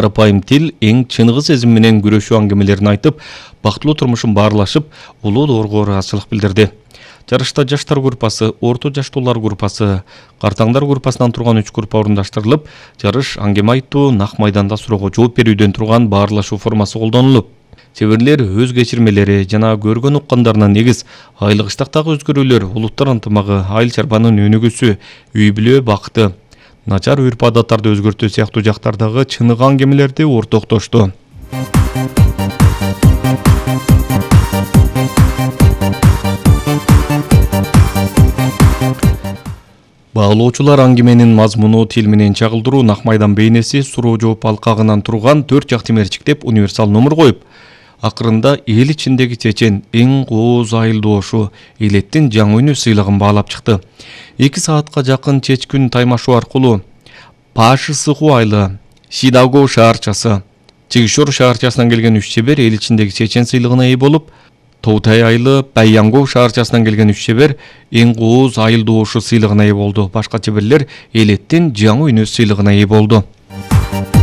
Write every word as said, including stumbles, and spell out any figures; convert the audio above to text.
Карапайым тил эң чыныгы сезим менен күрөшүү аңгемелерин айтып, бактылуу турмушун баарлашып, улуу доорго ыраазычылык билдирди. Жарышта жаштар группасы, орто жаштуулар группасы, картаңдар группасынан турган үч группа орундаштырылып, жарыш аңгеме айтуу, нак майданда суроого жооп берүүдөн турган баарлашуу формасы колдонулуп, чеберлер өз кечирмелери жана көргөн уккандарына негиз айлык иштактагы өзгөрүүлөр, улуттар ынтымагы, айыл чарбанын өнүгүүсү, үй бүлө бакыты, начар үрп адаттарды өзгөртүү сыяктуу жактардагы чыныгы аңгемелерди ортоктошту. Баалоочулар аңгеменин мазмуну, тил менен чагылдыруу, нак майдан бейнеси, суроо жооп алкагынан турган төрт жакты мерчиктеп универсал номер коюп, акырында эл ичиндеги чечен эң кооз айыл доошу элеттин жаңы үнү сыйлыгын баалап чыкты. эки саатка жакын чечкүн таймашуу аркылуу Пашысыху айылы, Сидаго шаарчасы, Чигишор шаарчасынан келген үч чебер эл ичиндеги чечен сыйлыгына ээ болуп, Тоутай айылы, Байянго шаарчасынан келген үч чебер эң кооз айыл доошу сыйлыгына ээ болду. Башка чеберлер элеттин жаңы үнү сыйлыгына ээ болду.